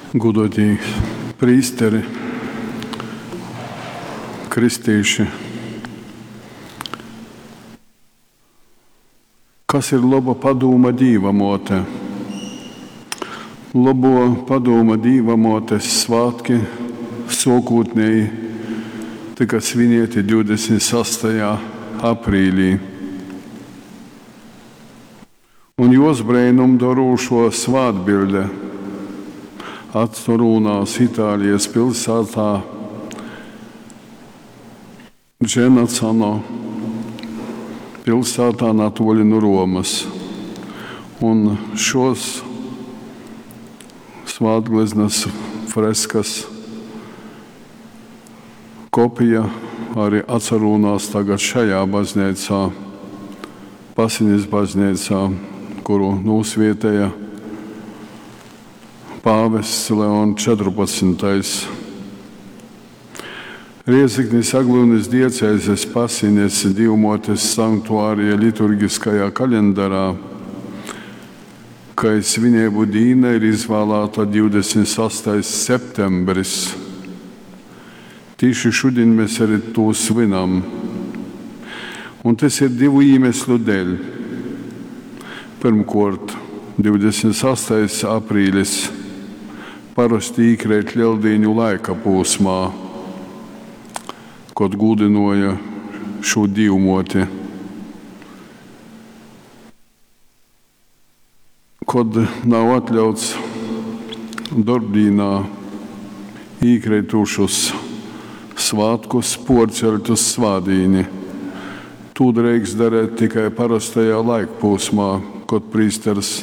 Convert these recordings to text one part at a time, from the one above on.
Gūduotī prīsteri, kristīši. Kas ir loba padūma Dīva muote? Lobuo padūma Dīva muotes svātki suokūtneji tyka svinieti 26. aprīlī. Un juos breinumdorūšuo svātbiļde atsarūnās Itālijas pilsātā Dženacano pilsātā natuoļi nu Romas. Un šos svātgleznas freskas kopija arī atsarūnās tagad šajā bazneicā, Pasinis bazneicā, kuru nūsvietēja pāvests Leons 14. Riezeknis Aglyunys diecezes Pasines Dīvmuotes sanktuārija liturgiskajā kalendarā kai svineibu dīna ir izvālāta 28. septembris. Tīši šudiņ mēs arī tū svinam. Un tas ir divu iemeslu dēļ. Pirmkuort, 28. aprīlis parosti īkreit Lieldīņu laika pūsmā, kod gūdynuoja šū dīvmuoti. Kod nav atļauts dorbdīnā īkreitušus svātkus puorceļt uz svātdīni. Tū drīkst darēt tikai parastajā laikpūsmā, kod prīsters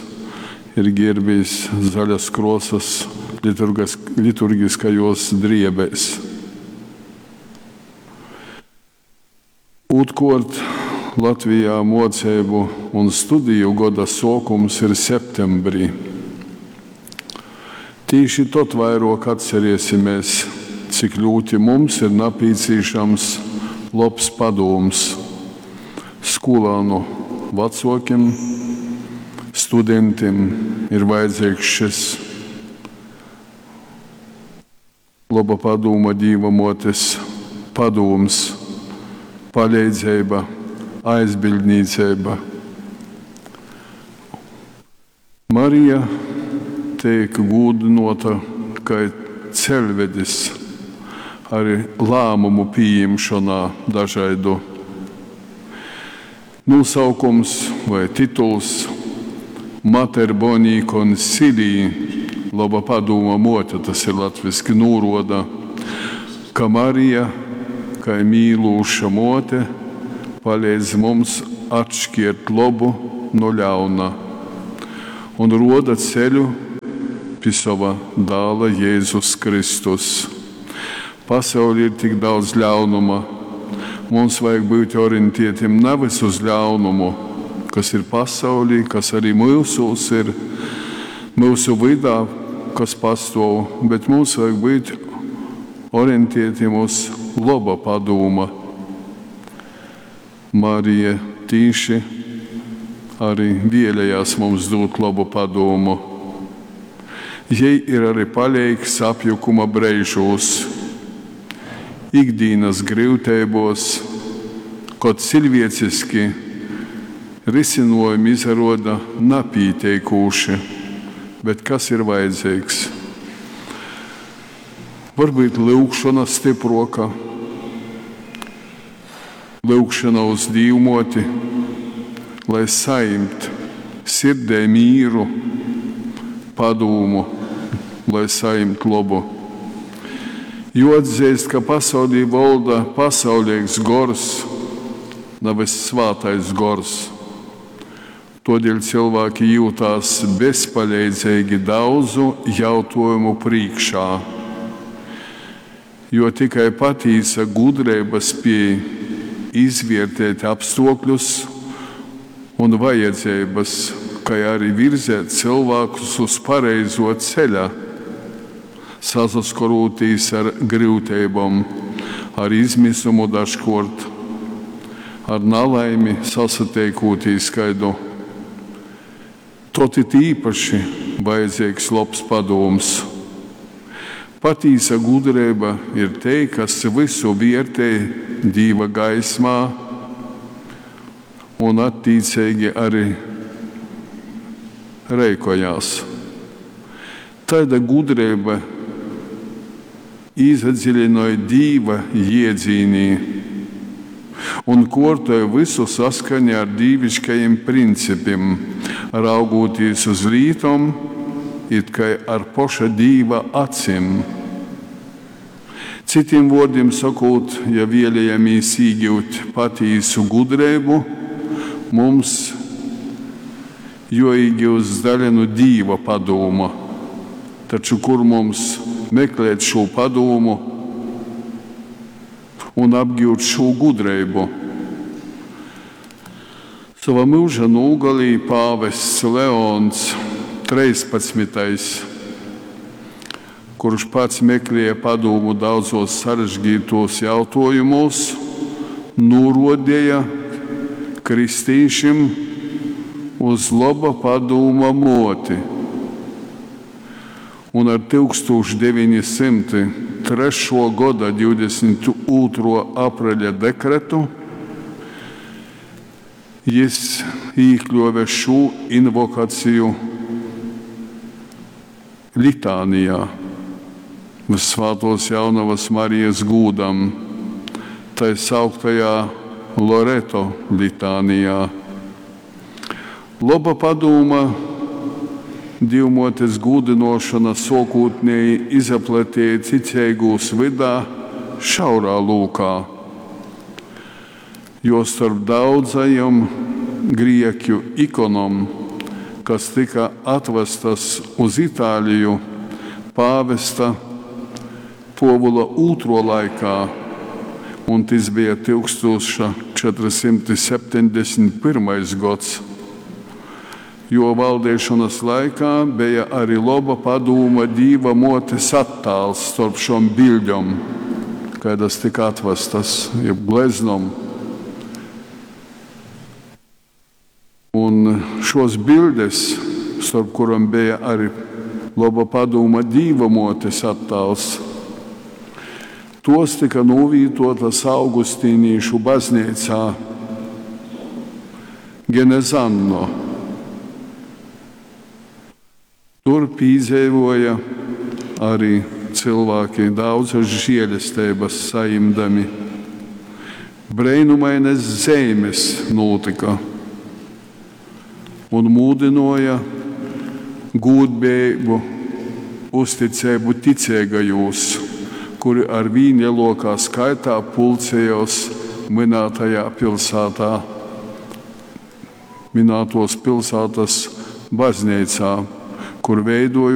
ir gierbīs zaļas krosas liturgiskajos driebēs. Ūtrkuort, Latvijā muoceibu un studiju goda suokums ir septembrī. Tīši tod vairuok atceriesimies, cik ļūti mums ir napīcīšams lobs padūms skolānu vacuokim, studentim ir vajadzīgs šis loba padūma Dīva muotes padūms, paleidzeiba, aizbiļdnīceiba. Marija teik gūdynuota kai ceļvedis arī lāmumu pījimšonā dažaidu. Nūsaukums vai tituls Mater Boni Consilii, loba padūma muote, tas ir latviski, nūruoda, ka Marija, kai mīlūša muote, paleidz mums atškiert lobu nu ļauna un ruoda ceļu pi sova dāla Jēzus Kristus. Pasaulī ir tik daudz ļaunuma. Mums vajag būt orientētiem nevis uz ļaunumu, kas ir pasaulī, kas arī mūsos ir, mūsu vydā, kas pastuov, bet mums vajag būt orientētiem uz loba padūma. Marija tīši arī vēlējās mums dūt labu padūmu. Jei ir arī paleigs apjukuma breižūs, ikdīnas gryuteibos, kod ciļvieciski risinojumi izaruoda napīteikūši, bet kas ir vajadzīgs? Varbūt lyugšona stypruoka, lyugšona uz Dīvmuoti, lai sajimt sirdē mīru, padūmu, lai sajimt lobu. Jo atzīst, ka pasaulī valda pasaulīgs gors, nevis svātais gors. Todēļ cilvēki jūtās bezpaleidzīgi daudzu jautājumu prīškā, jo tikai patīsa gudrība spēj izvērtēt apstākļus un vajadzības, kā arī virzēt cilvēkus uz pareizo ceļa, sasaskorūtīs ar gryuteibom, ar izmisumu dažkuort, ar nalaimi sasateikūtīs kaidu. Tod it īpaši vajadzīgs lobs padūms. Patīsa gudreiba ir tei, kas vysu viertej Dīva gaismā un attīceigi ari reikojās. Taida gudreiba īsadzilinoj Dīva jiedzīnī un kuortoj vysu saskaņā ar dīviškajim principim, raugūtīs uz lītom it kai ar poša Dīva acim. Citim vuordim sokūt, ja vielejamīs īgiut patīsu gudreibu, mums juoīgiust daļa nu Dīva padūma. Taču kur mums meklēt šū padūmu un apgiut šū gudreibu? Sova myuža nūgalī pāvests Leons 13., kurš pats meklēja padūmu daudzos sarežģītos jautājumos, nūruodeja kristīšim uz loba padūma muoti. Un ar 1903. Goda 22. Apreļa dekretu jis īkļuove šū invokaciju litānijā Vyssvātuos Jaunavas Marijas gūdam, tai sauktajā Loreto litānijā. Loba padūma Dīvmuotes gūdynuošona suokūtneji izaplateja ticeigūs vydā šaurā lūkā, jo storp daudzajom grieķu ikonom, kas tyka atvastas uz Itāliju pāvesta Puovula ūtruo laikā, un tys bija 1471. Gods, juo valdeišonys laikā beja ari loba padūma Dīva muotes attāls storp šom biļdom, kaidas tyka atvastas, jeb gleznom. Un šos bildes, storp kurom beja arī loba padūma Dīva muotes attāls, tos tyka nūvītuotas Augustīnīšu bazneicā Genezanno. Tur pīdzeivoja arī cylvāki daudzas žielesteibas sajimdami. Breinumainas zeimes nūtyka un mūdynuoja gūdbejeibu, uzticeibu ticeigajūs, kuri arvīn leluokā skaitā pulcējos mynātajā pilsātā, mynātuos pilsātas bazneicā, kur veidojuos.